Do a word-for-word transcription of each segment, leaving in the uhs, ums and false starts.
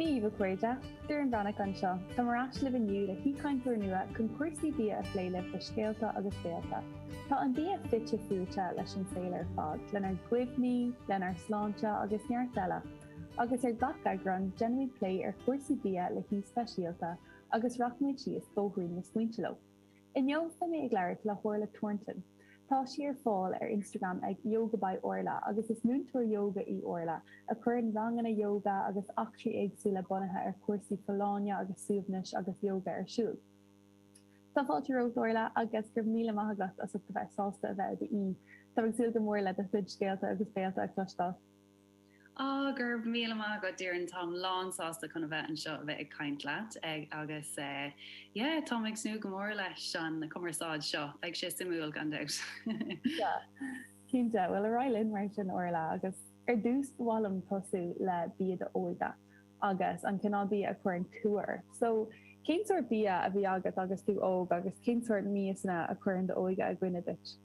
Dia daoibh, a chairde, Doireann Bhreathnach anseo. Táim ar ais libh inniu le haoichainteoir nua chun cúrsaí bia a phlé libh le scéalta agus béalta. Tá an bia fite fuaite leis an saol ar fad, lenár gcuimhní, lenár sláinte agus neart eile. Agus ar gach eagrán, déanaimid plé ar chúrsaí bia le haoi speisialta agus rachaimid síos bóithrín na smaointe leo. Inniu beidh mé ag labhairt le hOrla Thornton. Tá sí ar fáil ar Instagram ag Yoga by Orla agus is múinteoir yoga í Orla a chuireann ranganna yoga agus eachtraí éagsúla bunaithe ar chúrsaí folláine agus suaimhnis agus yoga ar siúl. Tá fáilte romhat, Orla, agus go raibh míle maith agat as ucht a bheith sásta a bheith i d'aoi. Tá ag súil go mór le do chuid scéalta agus béalta a chloisteáil. Á, go raibh míle maith agat, Doireann. Táim lán sásta chun a bheith anseo a bheith ag caint leat agus yeah, táim ag tnúth go mór leis an cumarsáid seo. Beidh sé suimiúil gan dabht. Cinnte, well, ar aghaidh linn mar sin, Orla, agus ar dtús ba mhaith liom tosú le bia d'óige agus an cineál bia a chuireann cumha ort. So cén sórt bia a bhí agat agus tú óg agus cén sórt miasanna a chuireann d'óige i gcuimhne duit?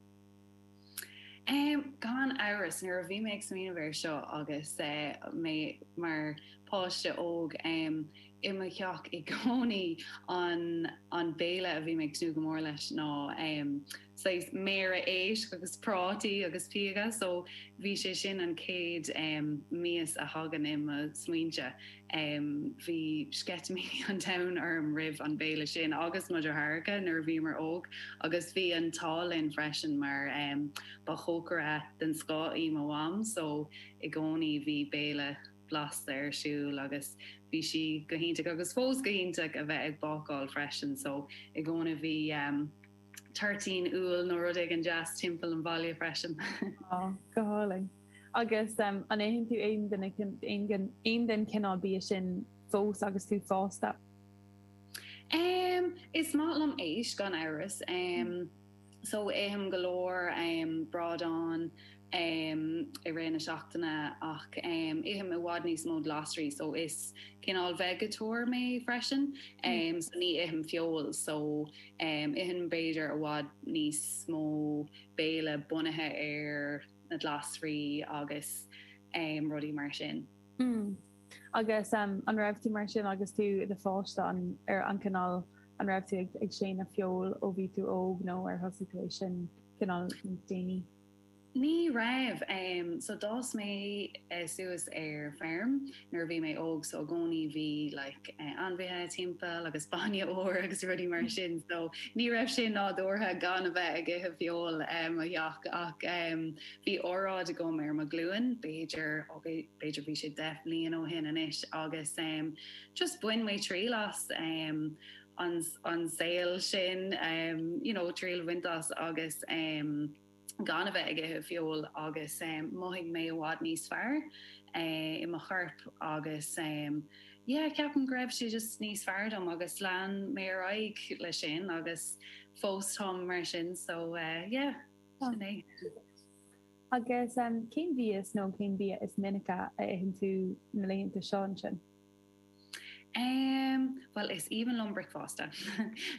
Um, gan amhras, nuair a bhí mé ag smaoineamh air seo agus uh, mé mar páiste óg, um, i mo theach i gcónaí an an béile a bhí mé ag tnúth go mór leis ná um, saghas méara éisc agus prátaí agus píoga, so bhí sé sin an chéad um, mias a thagann i mo smaointe. Um, bhí sceitimíní an domhain orm roimh an béile sin agus mo dheartháireacha nuair a bhíomar óg agus bhí an t-ádh linn freisin mar um, ba chócaire den scoth í mo mham, so i gcónaí bhí béile blasta ar siúl agus bhí sí go hiontach agus fós go hiontach a bheith ag bácáil freisin, so i gcónaí bhí um, toirtín úll nó rud éigin deas timpeall an bhaile freisin. Oh, go hálainn. Agus um, an itheann tú aon duine aon den cineál bia sin fós agus tú fásta? Um, is maith liom éisc, gan amhras. Um, so ithim go leor um, bradán um, i rith na seachtaine ach um, ithim i bhfad níos mó glasraí, so is cineál veigeatóir mé freisin, um, so ní ithim feoil, so um, ithim b'fhéidir i bhfad níos mó béile bunaithe ar na glasraí agus um, rudaí mar sin. Mm. Agus um, an raibh tú mar sin agus tú i do pháiste, an ar an cineál an raibh tú ag, ag séanadh feoil ó bhí tú óg nó ar thosaigh tú é sin cineál níos déanaí? Ní raibh. um, so d'fhás mé uh, suas ar feirm nuair a bhí mé óg, so i gcónaí bhí like, uh, ainmhithe timpeall agus bainne úr agus rudaí mar sin, so ní raibh sé nádúrtha gan a bheith ag ithe feoil um, i mo theach ach um, bhí óráid agam ar mo ghlúin, b'fhéidir ó b'fhéidir bhí sé deich mbliana ó shin anois agus um, just bhain mé triail as um, an, an saol sin, um, you know, triail a bhaint as agus um, gan a bheith ag ithe feoil agus um, mhothaigh mé i bhfad níos fearr uh, i mo chorp agus um, yeah, ceapaim go raibh sé just níos fearr dom agus lean mé ar aghaidh leis sin agus fós táim mar sin, so uh, yeah, sin é. Agus um, cén mhias nó cén bia is minice a itheann tú na laethanta seo ansin? Um, well, is aoibhinn liom bricfeasta.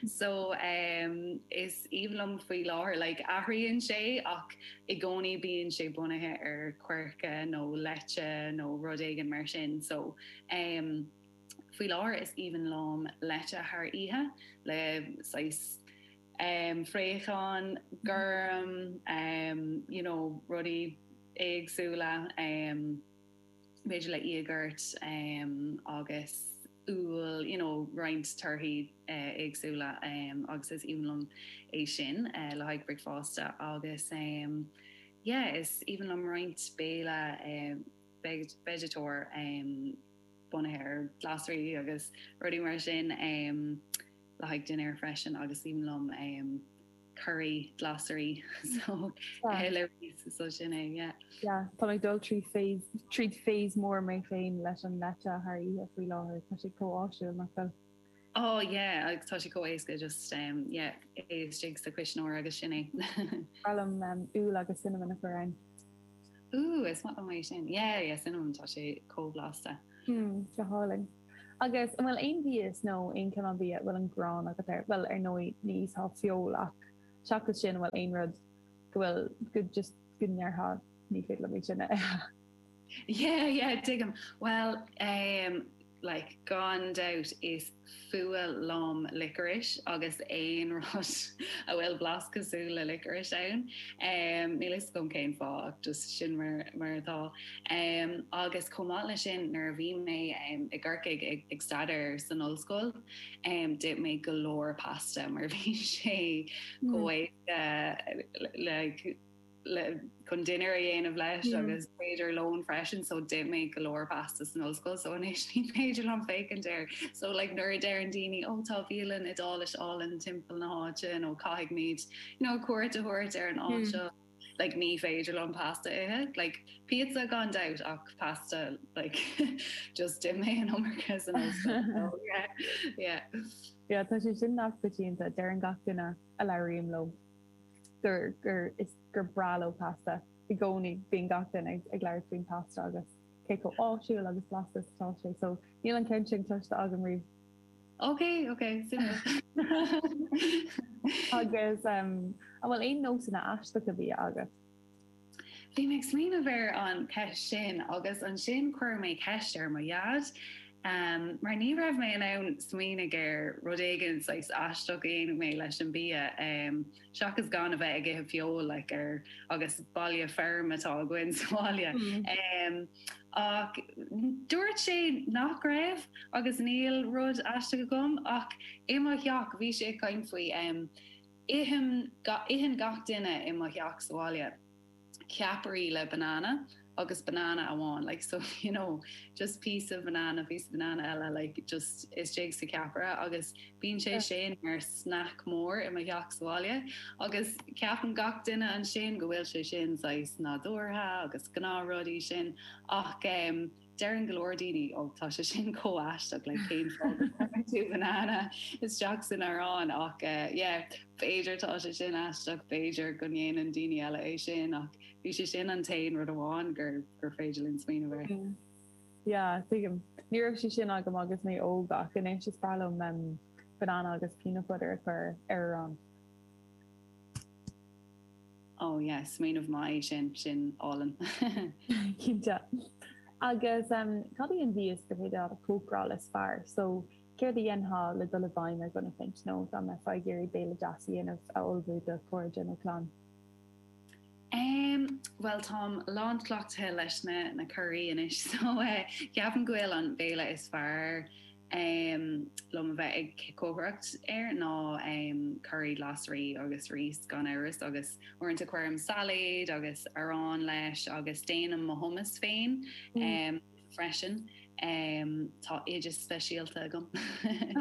So um, is aoibhinn liom faoi láthair, like, athraíonn sé ach i gcónaí bíonn sé bunaithe ar coirce nó leite nó rud éigin mar sin. So um, faoi láthair is aoibhinn liom leite thar oíche le saghas um, fraochán gorm, um, you know, rudaí éagsúla, um, b'fhéidir le íogart um, agus úll, you know, roinnt torthaí uh, éagsúla, um, agus is aoibhinn liom é sin uh, le haghaidh bricfeasta agus um, yeah, is aoibhinn liom roinnt béile um, veigeatóir um, bunaithe ar glasraí agus rudaí mar sin um, le haghaidh dinnéar freisin agus aoibhinn liom um, curry glasraí, so le so sin é, yeah. Yeah, tá ag dul trí tríd phase mór mé féin leis an leite thar oíche faoi láthair. Tá sé chomh áisiúil, nach bhfuil? Oh yeah, agus tá sé chomh éasca, just um, yeah, é istigh sa chuisneoir agus sin é. Liom um, úll agus cinnamon a chur ann. Ooh, is maith liom é sin. Yeah, yeah, cinnamon, tá sé chomh blasta. Hmm, go hálainn. Agus an bhfuil aon mhias nó aon cineál bia bhfuil an ghráin agat air? Well, ar ndóigh ní ithfeá feoil ach seachas sin, bhfuil aon rud go bhfuil go just go ndéarfá, "Ní féidir liom é sin a ithe"? Yeah, yeah, tuigim. Well, um, like gan doubt is fuath liom licorice agus aon rud a bhfuil blas cosúil le licorice ann. Um, níl fhios agam cén fáth just sin mar, mar atá. Um, agus chomh maith leis sin nuair a bhí mé um, i gCorcaigh ag, ag staidéar san ollscoil, um, d'ith mé go leor pasta mar bhí sé mm. chomh uh, like, le chun dinnéar a dhéanamh leis mm. agus b'fhéidir lón freisin so d'ith mé go leor pasta san ollscoil so anois ní féidir liom féachaint air so like nuair a deireann daoine ó tá bialann Iodáileach álainn timpeall na háite nó caithfimid you know, cuairt a thabhairt ar an áit mm. seo like ní féidir liom pasta ithe like pizza gan doubt ach pasta like just d'ith mé an iomarca san ollscoil so, yeah yeah Yeah, tá sé sin an-choitianta deireann gach duine a labhraím leo gur gur is gur breá leo pasta i gcónaí bíonn gach duine ag ag labhairt faoin pasta agus cé chomh áisiúil agus blasta atá sé so níl an ceann sin cloiste agam riamh. Ok ok agus um, an bhfuil aon nósanna aisteacha bia agat. Bhí mé ag smaoineamh ar an ceist sin agus ansin chuir mé ceist ar mo dhaid. Um, mar ní raibh mé in ann smaoineamh ar rud éigin saghas aisteach a dhéanadh mé leis an bia um, seachas gan a bheith ag ithe feoil like, ar agus baile feirme atá againn sa bhaile. Mm. Um, ach dúirt sé nach raibh agus níl rud aisteach agam ach i mo theach bhí sé ag caint faoi um, itheann itheann gach duine i mo theach sa bhaile. Ceapairí le banana agus banana amháin like so you know just piece of banana piece of banana eile like just istigh sa ceapaire agus bíonn sé sin mar snack mór i mo theach sa bhaile agus ceapann gach duine ansin go bhfuil sé sin saghas nádúrtha agus gnáthrudaí sin ach um, deireann go leor daoine ó tá sé sin chomh aisteach le cén tú banana isteach san arán ach uh, yeah, b'fhéidir tá sé sin aisteach b'fhéidir go ndéanann daoine eile é sin ach bhí sé sin an t-aon rud amháin gur gur féidir liom smaoineamh air. Yeah, tuigim. Ní raibh sé sin agam agus mé óg ach anois is breá liom um, banana agus peanut butter a chur ar arán. Oh yeah, smaoineamh maith sin sin álainn. Cinnte. Agus um, cad í an mhias gur féidir a chócaráil is fearr, so céard a dhéanfá le dul i bhfeidhm ar dhuine éicint nó dá mbeifeá ag iarraidh béile deas a dhéanamh a ullmhú do chairde nó clann. Um, well táim lánchleachtaithe leis na na curaí anois so uh, ceapaim go bhfuil an béile is fearr um, liom a bheith ag cócaireacht air ná um, curry glasraí agus rís gan amhras agus uaireanta cuirim sailéad agus arán leis agus déanaim mo hummus féin mm. um, freisin. Um, tá oideas speisialta agam.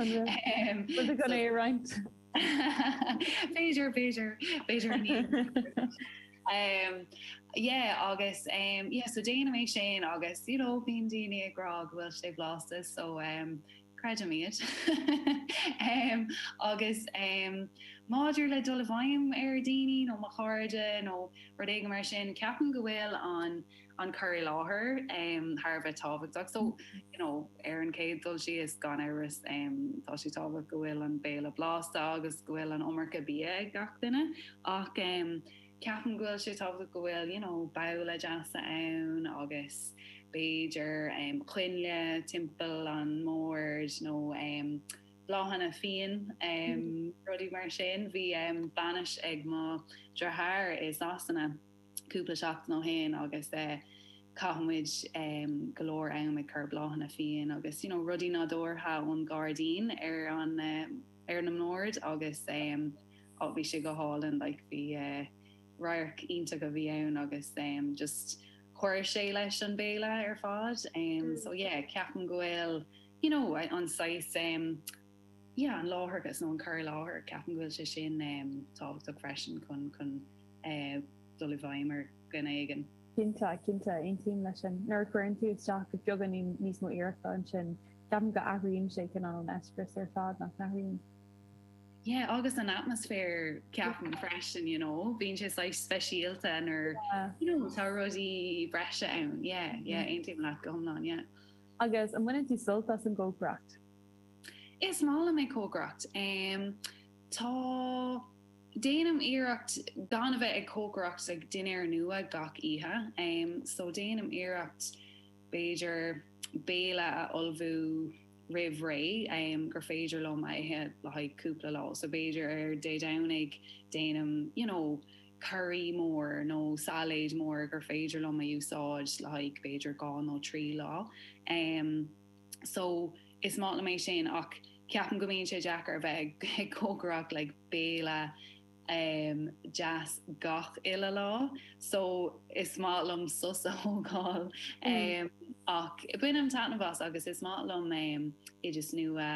um, gan é roinnt. B'fhéidir b'fhéidir b'fhéidir ní. Um, yeah, agus um, yeah, so déanaim é sin agus you know, bíonn daoine ag rá go bhfuil sé blasta so um, creidim iad. um, agus um, maidir le dul i bhfeidhm ar daoine nó mo chairde nó rud éigin mar sin ceapaim go bhfuil an an cur i láthair um, thar a bheith tábhachtach so you know, ar an chéad dul síos gan amhras um, tá sé tábhachtach go bhfuil an béile blasta agus go bhfuil an iomarca bia ag gach duine ach um, ceapaim go bhfuil sé tábhachtach go bhfuil you know, babhla deasa ann agus b'fhéidir um, coinnle timpeall an mbord nó um, bláthanna fiáin um, mm. rudaí mar sin bhí um, bainis ag mo dheartháir i Sasana cúpla seachtain ó shin agus uh, chaith muid um, go leor am ag cur bláthanna fiáin agus you know, rudaí nádúrtha ón gairdín ar an uh, ar na mbord agus um, ó bhí sé go hálainn like, bhí uh, radharc iontach a bhí ann agus um, just chuir sé leis an béile ar fad um, mm. so yeah, ceapaim go bhfuil you know, an saghas um, yeah, an láithreachas nó an cur i láthair ceapaim go bhfuil sé sin um, tábhachtach freisin chun chun uh, dul i bhfeidhm ar dhuine éigin. Cinnte cinnte aontaím leis sin nuair a chuireann tú isteach beagán níos mó iarrachta ansin ceapaim go athraíonn sé chun an eispéireas ar fad nach n-athraíonn. Yeah, agus an atmaisféar ceapaim freisin, you know, bíonn sé saghas speisialta nuair you know, tá rudaí breise ann. Yeah, yeah, mm. aontaím leat go hiomlán, yeah. Agus an mbaineann tú sult as an gcócaireacht? Is maith liom ag cócaireacht. Um, tá déanaim iarracht gan a bheith ag cócaireacht ag dinnéar nua gach oíche. Um, so déanaim iarracht b'fhéidir béile a ullmhú roimh ré um, gur féidir liom a ithe le haghaidh cúpla lá. So b'fhéidir ar Dé Domhnaigh déanaim you know, curry mór nó sailéid mór gur féidir liom a úsáid le haghaidh b'fhéidir dhá nó trí lá. Um, so is maith liom é sin ach ceapaim go mbíonn sé deacair bheith ag cócaireacht like, béile um, deas gach uile lá, so is maith liom sos a thógáil um, ach bainim taitneamh as agus is maith liom um, oideas nua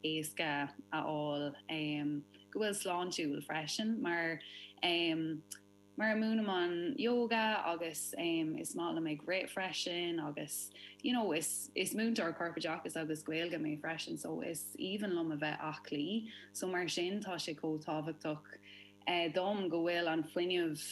éasca a fháil um, go bhfuil sláintiúil freisin mar um, mar múinim an yoga agus um, is maith liom ag rith freisin agus you know, is, is múinteoir corpoideachais agus Gaeilge mé freisin, so is aoibhinn liom a bheith aclaí, so mar sin tá sé chomh tábhachtach eh, dom go bhfuil an fuinneamh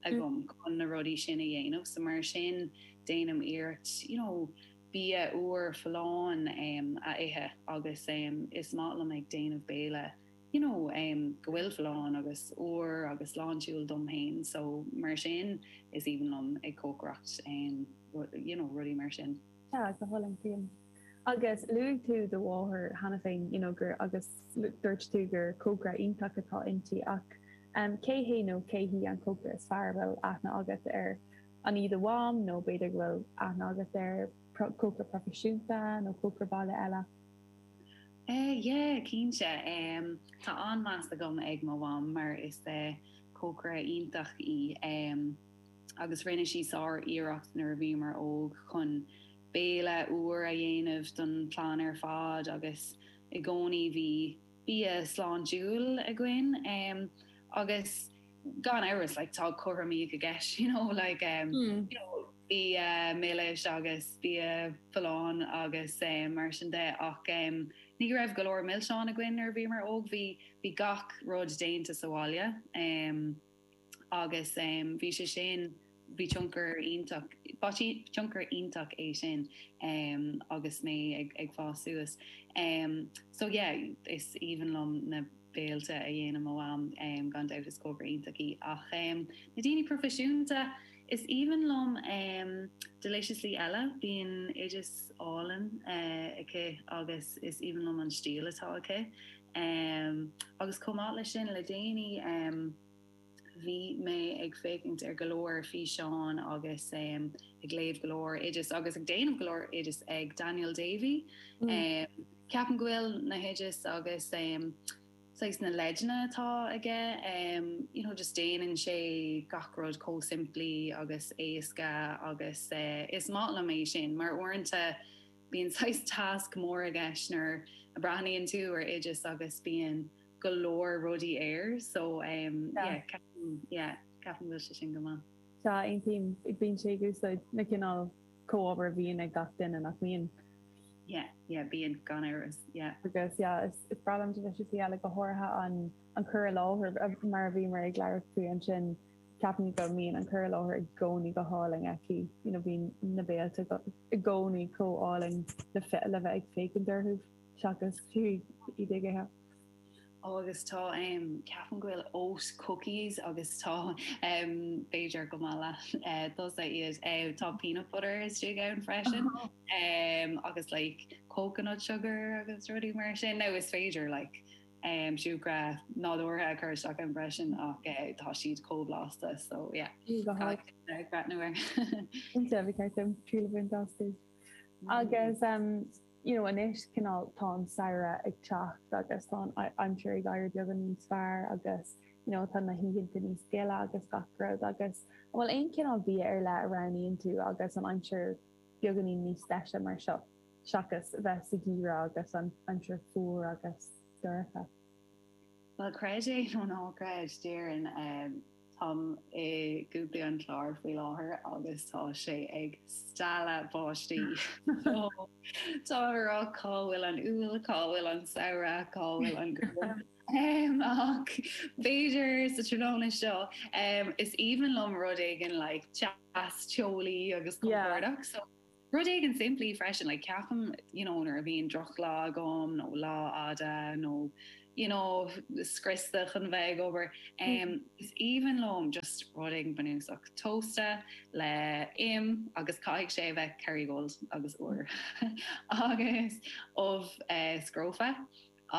agam chun na rudaí sin a dhéanamh, so mar sin déanaim iarracht you know, bia úr folláin um, a ithe agus um, is maith liom ag déanamh béile you know, um, go bhfuil folláin agus úr agus sláintiúil dom féin, so mar sin is aoibhinn liom ag cócaireacht um, you know, rudaí mar sin. Yeah, go hálainn. Agus luaigh tú do mháthair cheana féin you know, gur agus dúirt tú gur cócaire iontach atá inti ach um, cé hé nó cé hí an cócaire is fearr bhfuil aithne agat ar an í do mham nó b'fhéidir go bhfuil aithne agat ar cócaire proifisiúnta nó cócaire baile eile. Eh, yeah, cinnte um, tá an-mheas agam ag mo mham mar is uh, cócaire iontach í um, agus rinne sí sár iarracht nuair a bhíomar óg chun béile úr a dhéanamh don chlann ar fad agus i gcónaí bhí bia sláintiúil againn um, agus gan amhras like, tá cothromaíocht i gceist you know, like, um, mm. you know, bia milis agus bia folláin agus um, mar sin de ach um, ní raibh go leor milseán againn nuair a bhíomar óg bhí bhí gach rud déanta sa bhaile um, agus um, bhí sé sin bhí tionchar iontach tionchar iontach é sin um, agus mé ag, ag fás suas. Um, so yeah, is aoibhinn liom na béilte a dhéanann mo mham um, gan dabht is cócaire iontach í ach um, na daoine proifisiúnta is aoibhinn liom um, Deliciously Ella bíonn oideas álainn uh, aici agus is aoibhinn liom an stíl atá aici. Um, agus chomh maith leis sin le déanaí um, bhí mé ag féachaint ar go leor físeán agus um, ag léamh go leor oideas agus ag déanamh go leor oideas ag Daniel Davy. Mm. Um, Ceapaim go bhfuil na hoideas agus um, saghas na leideanna atá aige um, you know, just déanann sé gach rud chomh simplí agus éasca agus uh, is maith liom é sin mar uaireanta bíonn saghas tasc mór i gceist nuair a breathnaíonn tú ar oideas agus bíonn go leor rudaí air so um, yeah. yeah, ceapaim bhfuil sé sin go maith. Tá aontaím bíonn sé ag úsáid na cineál comhábhair a bhíonn ag gach duine nach mbíonn. Yeah, yeah, bíonn gan amhras, yeah. Agus yeah, is, is breá liom Deliciously Ella go háirithe an an cur i láthair mar a bhíomar ag labhairt faoi ansin ceapaim go mbíonn an cur i láthair i gcónaí go hálainn aici you know, bíonn na béilte i gcónaí chomh hálainn le le bheith ag féachaint orthu seachas fiú iad ag ithe. agus tá um, ceapaim go bhfuil oat cookies agus tá um, b'fhéidir go maith uh, tusa iad uh, tá peanut butter istigh ann freisin um, agus like coconut sugar agus rudaí mar sin nó is féidir like um, siúcra nádúrtha a chur isteach ann freisin ach uh, tá siad chomh blasta so yeah breathnú air. Tríú Agus um, you know, anois cineál tá an samhradh ag teacht agus tá aimsir ag éirí beagán níos fearr agus you know, tá na hoícheanta níos gile agus gach rud agus an bhfuil aon cineál bia ar leith a roghnaíonn tú agus an aimsir beagáinín níos deise mar seo seachas bheith sa gheimhreadh agus an aimsir fuar agus dorcha. Well creid é nó ná creid Doireann um, Táim i gContae an Chláir faoi láthair agus tá sé ag stealladh báistí. Tá rá cá bhfuil an Iúil, cá bhfuil an samhradh, cá bhfuil an um, ach b'fhéidir sa tráthnóna seo um, is aoibhinn liom rud éigin like, teas teolaí agus compordach. So rud éigin simplí freisin like, ceapaim you know, nuair a bhíonn drochlá agam nó lá fada nó you know scriosta chun bheith ag obair. Um, is aoibhinn liom just rud éigin bunúsach tósta le im agus caithfidh sé bheith Kerrygold agus úr agus ubh uh, scrofa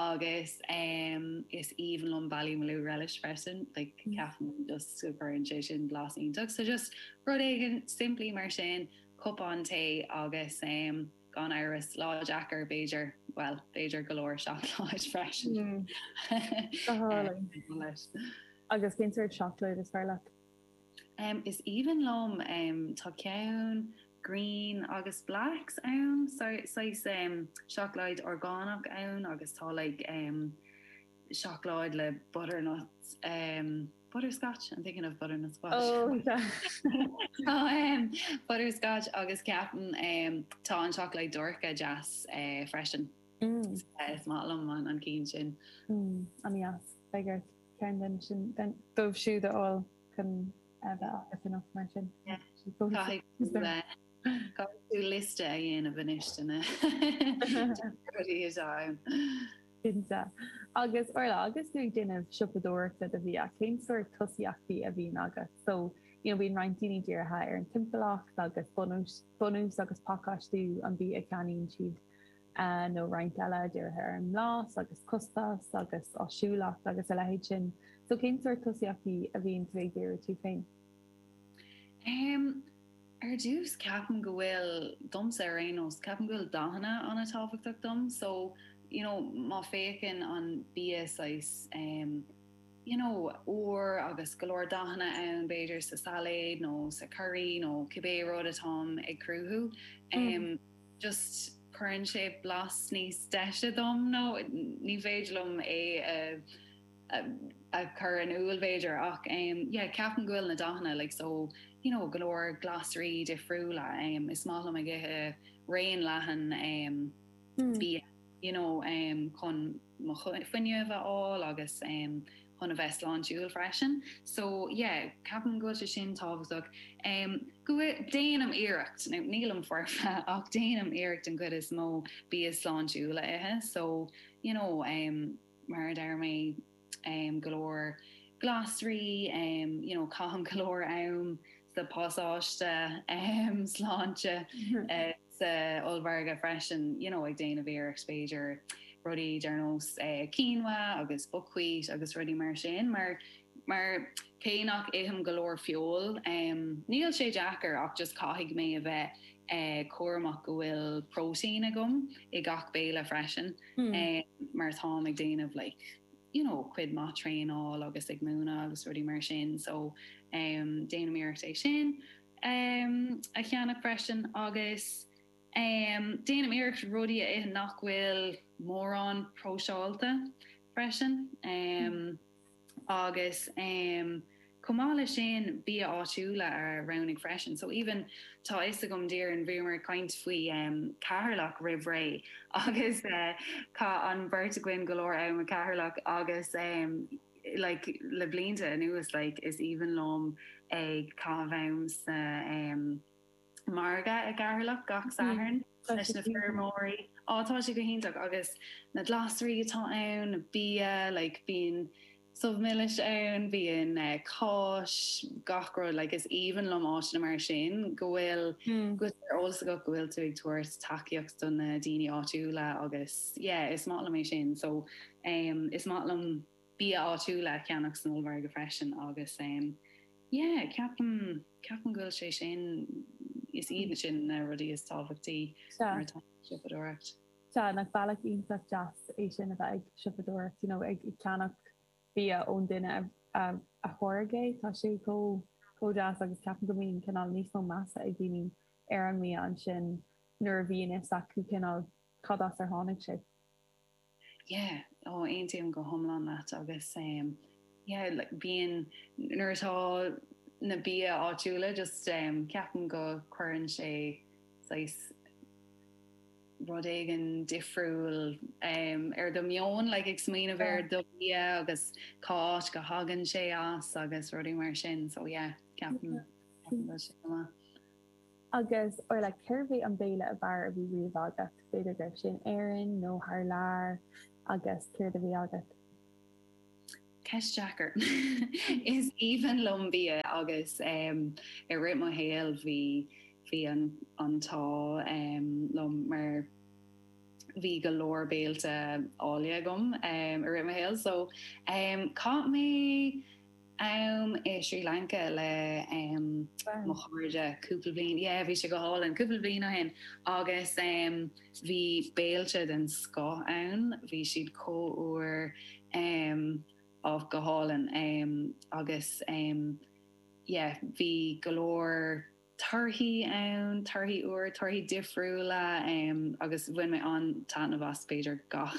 agus um, is aoibhinn liom Ballymaloe relish freisin like mm. ceapaim just go gcuireann sé sin blas iontach so just rud éigin simplí mar sin cupán tae agus um, gan amhras lá deacair b'fhéidir well b'fhéidir go leor seacláid freisin. Mm. Agus cén sórt seacláid is fearr leat? Um, is aoibhinn liom um, tá ceann green agus blacks ann saghas um, seacláid orgánach ann agus tá like, um, seacláid le butternut um, butterscotch I'm thinking of butternut squash oh, um, butterscotch agus ceapaim um, tá an seacláid dorcha deas uh, freisin mm. is maith liom an an ceann sin mm, an-deas beidh ort ceann den sin den dóibh siúd a fháil chun a bheith agat anocht mar sin. Caithfidh tú liosta a dhéanamh anois de na rudaí atá ann. Cinnte. Agus Orla, agus tú ag déanamh siopadóireachta do bhia, cén sórt tosaíochtaí a bhíonn agat? So, you know, bíonn roinnt daoine dírithe ar an timpeallacht agus bunús, bunús agus pacáistiú an bhia a cheannaíonn siad, uh, nó roinnt eile dírithe ar an mblas agus costas agus áisiúlacht agus a leithéid sin. So cén sórt tosaíochtaí a bhíonn tú ag díriú tú féin? Um, ar dtús ceapaim go bhfuil domsa ar aon nós, ceapaim go bhfuil dathanna an-tábhachtach dom, so you know, má féachann an bia saghas um, you know, úr agus go leor dathanna ann b'fhéidir sa sailéad nó sa curry nó cibé rud atáim ag cruthú. Um, mm. Just cuireann sé blas níos deise dom nó ní féidir liom é a, a, a chur in iúl b'fhéidir ach um, yeah, ceapaim go bhfuil na dathanna like, so you know, go leor glasraí difriúla um, is maith liom ag ithe raon leathan um, mm. bia you know, um, chun mo fuinneamh a fháil agus um, chun a bheith sláintiúil freisin. So yeah, ceapaim go bhfuil sé sin tábhachtach. Um, go déanaim iarracht nílim foirfe ach déanaim iarracht an chuid is mó bia sláintiúil a ithe, so you know, um, mar a deir mé um, go leor glasraí, um, you know, caithim go leor am sa pasáiste um, sláinte uh, sa ollmhargadh freisin you know, ag déanamh iarracht b'fhéidir rudaí ar nós uh, quinoa agus buckwheat agus rudaí mar sin mar mar cé nach ithim go leor feoil um, níl sé deacair ach just caithfidh mé a bheith uh, cúramach go bhfuil protein agam i gach béile freisin mm. um, mar táim ag déanamh like, you know, cuid maith traenáil agus ag múineadh agus rudaí mar sin so um, déanaim iarracht é sin um, a cheannach freisin agus um, déanaim iarracht rudaí a ithe nach bhfuil mórán próiseáilte freisin um, agus um, chomh maith leis sin bia áitiúla a roghnú freisin. So even tá fhios agam Doireann bhíomar ag caint faoi um, Ceatharlach roimh ré agus uh, chaith an bheirt againn go leor am i gCeatharlach agus um, like, le blianta anuas like, is aoibhinn liom ag caitheamh am sa um, margadh i gCeatharlach gach Satharn leis na feirmeoirí. Á tá sé go hiontach agus na glasraí atá ann, na bia, like, bíonn subh milis ann, bíonn uh, cáis gach rud like, is aoibhinn liom áiteanna mar sin go bhfuil mm. go eolas agat go bhfuil tú ag tabhairt tacaíocht do na daoine áitiúla agus yeah, is maith liom é sin so um, is maith liom bia áitiúla a cheannach san ollmhargadh freisin agus um, yeah, ceapaim ceapaim go bhfuil sé sin is iad sin na rudaí is tábhachtaí Sea. siopadóireacht. Sea, nach bealach iontach deas é sin a bheith ag siopadóireacht, you know, ag ceannach bia ón duine a, a, a tháirg é, tá sé chomh chomh deas agus ceapaim go mbíonn cineál níos mó measa ag daoine ar an mbia ansin nuair a bhíonn fhios acu cineál cad as ar tháinig sé. Yeah, ó aontaím go hiomlán leat agus um, yeah, like, bíonn nuair atá na bia áitiúla just um, ceapaim go cuireann sé saghas rud éigin difriúil um, ar do meon like, ag smaoineamh ar do bia agus cá háit go thagann sé as agus rudaí mar sin so yeah, ceapaim ceapaim go bhfuil sé go maith. Agus Orla cérbh é an béile ab fhearr a bhí riamh agat, b'fhéidir go raibh sé in Éirinn nó thar lear agus céard a bhí agat. Ceist deacair. Is aoibhinn liom bia agus um, i rith mo shaoil bhí bhí an an t-ádh um, liom mar bhí go leor béilte áille agam um, i rith mo shaoil so um, chaith mé am i Sri Lanka le um, mo chairde cúpla bliain yeah, bhí sé go hálainn cúpla bliain ó shin agus um, bhí béilte den scoth ann bhí siad chomh úr um, á go hálainn um, agus um, yeah, bhí go leor torthaí ann torthaí úr torthaí difriúla um, agus bhain mé an-taitneamh as b'fhéidir gach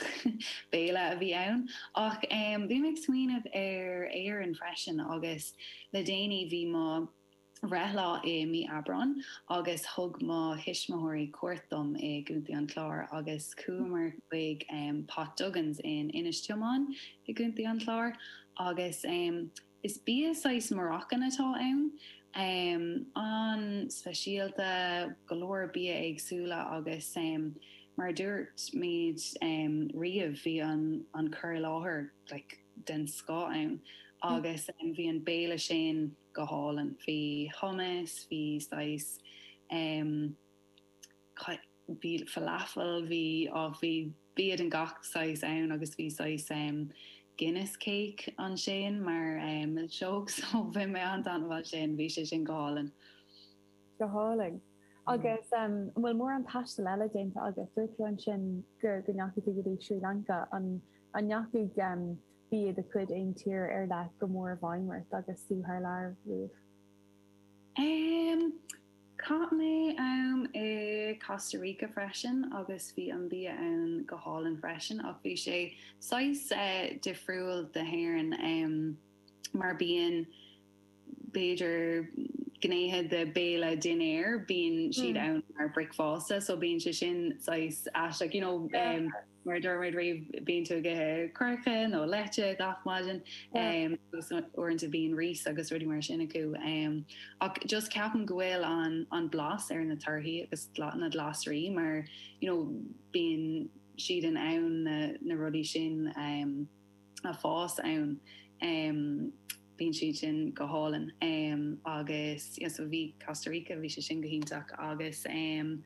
béile a bhí ann ach um, bhí mé ag smaoineamh ar Éirinn freisin agus le déanaí bhí mo bhreithlá i mí Aibreán agus thug mo thuismitheoirí cuairt dom i gContae an Chláir agus chuamar chuig um, Pot Duggan's in Inis Tiomáin i gContae an Chláir agus um, is bia saghas Moroccan atá ann. Um, an-speisialta go leor bia éagsúla agus um, mar dúirt muid um, riamh bhí an, an cur i láthair like, den scoth ann agus um, bhí an béile sin go hálainn. Bhí hummus, bhí saghas um, bhí falafel, bhí á bhí bia den gach saghas ann agus bhí saghas um, Guinness cake ansin mar um, milseog so bhí mé an-taitneamh sin bhí sé sin go hálainn. Go hálainn. Agus um, bhfuil mórán taistil eile déanta agus dúirt tú ansin gur go ndeachaigh tú go dtí Sri Lanka an an ndeachaigh um, bia de chuid aon tír ar leith go mór i bhfeidhm ort agus tú thar lear riamh. Um, Chaith mé am i Costa Rica freisin agus bhí an bia ann go hálainn freisin ach bhí sé saghas uh, difriúil d'Éirinn um, mar bíonn b'fhéidir gnéithe de béile dinnéir bíonn siad mm. ann mar bricfeasta so bíonn sé sin saghas aisteach you know um, mar dúirt riamh bíonn tú ag ithe coirce nó leite gach maidin um, uaireanta bíonn rís agus rudaí mar sin acu um, ach just ceapaim go bhfuil an an blas ar na torthaí agus na glasraí mar you know, bíonn siad in ann na, na rudaí sin um, a fás ann um, bíonn siad sin go hálainn um, agus yeah, so bhí Costa Rica bhí sé sin go hiontach agus um,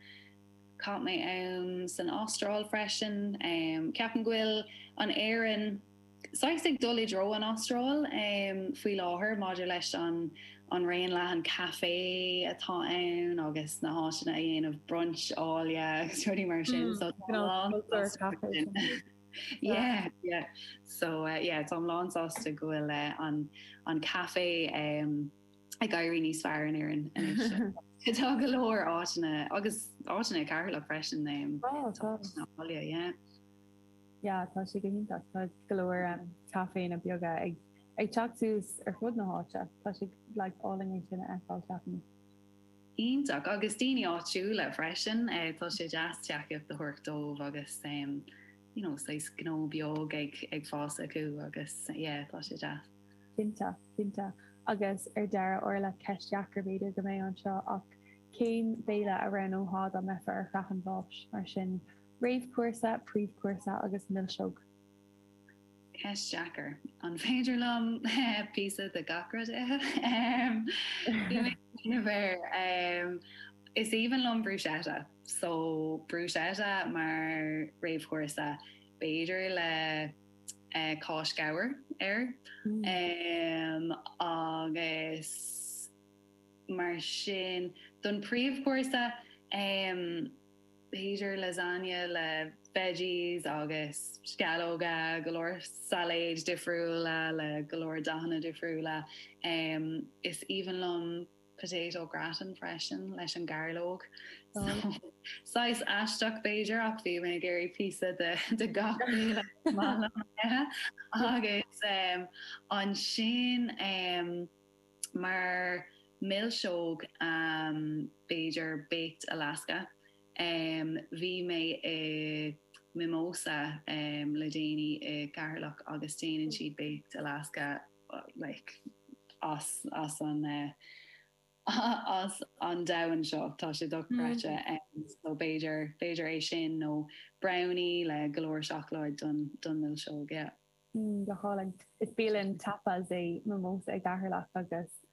Chaith mé am san Astráil freisin um, ceapaim go bhfuil an Éirinn saghas ag dul i dtreo an Astráil um, faoi láthair maidir leis an an raon leathan caife atá ann agus na háiteanna a dhéanamh brunch áille agus rudaí mar sin mm, so Yeah, yeah. So uh, yeah, tá lán sásta go bhfuil uh, an an caife um, ag éirí níos fearr in Éirinn anois. Tá go leor áiteanna agus áiteanna Ceatharlach freisin um, áille, yeah. Yeah, tá sé go hiontach tá go leor um, caiféanna beaga ag ag teacht suas ar fud na háite Tá sé like álainn é sin a fheiceáil ceapaim. Iontach agus daoine áitiúla freisin eh, tá sé deas tacaíocht a thabhairt dóibh agus um, you know, saghas gnó beag ag ag fás acu agus yeah, tá sé deas. Cinnte, cinnte. Agus ar deireadh Orla ceist deacair b'fhéidir go mbeidh anseo ach cén béile a roghnófá dá mbeifeá ar shraith an bháis mar sin réamhchúrsa, príomhchúrsa agus milseog. Ceist deacair. An féidir liom píosa de gach rud ithe? um, is aoibhinn liom bruschetta, so bruschetta mar réamhchúrsa b'fhéidir le uh, cáis ghabhair air mm. um, agus mar sin don príomhchúrsa um, b'fhéidir lasagna le veggies agus sceallóga go leor sailéid difriúla le go leor dathanna difriúla. Um, is aoibhinn liom potato gratin freisin leis an gairleog. Oh. So, saghas aisteach b'fhéidir ach bhí mé ag iarraidh píosa de, de gach agus um, ansin um, mar milseog um, b'fhéidir baked Alaska. Um, bhí mé i Mimosa um, le déanaí i gCeatharlach agus déanann siad baked Alaska like, as, as an uh, as an domhan seo tá sé dochreidte mm. um, so b'fhéidir b'fhéidir é sin nó brownie le go leor seacláid don don milseog yeah. Mm, go hálainn. Is bialann tapas é Mimosa i gCeatharlach agus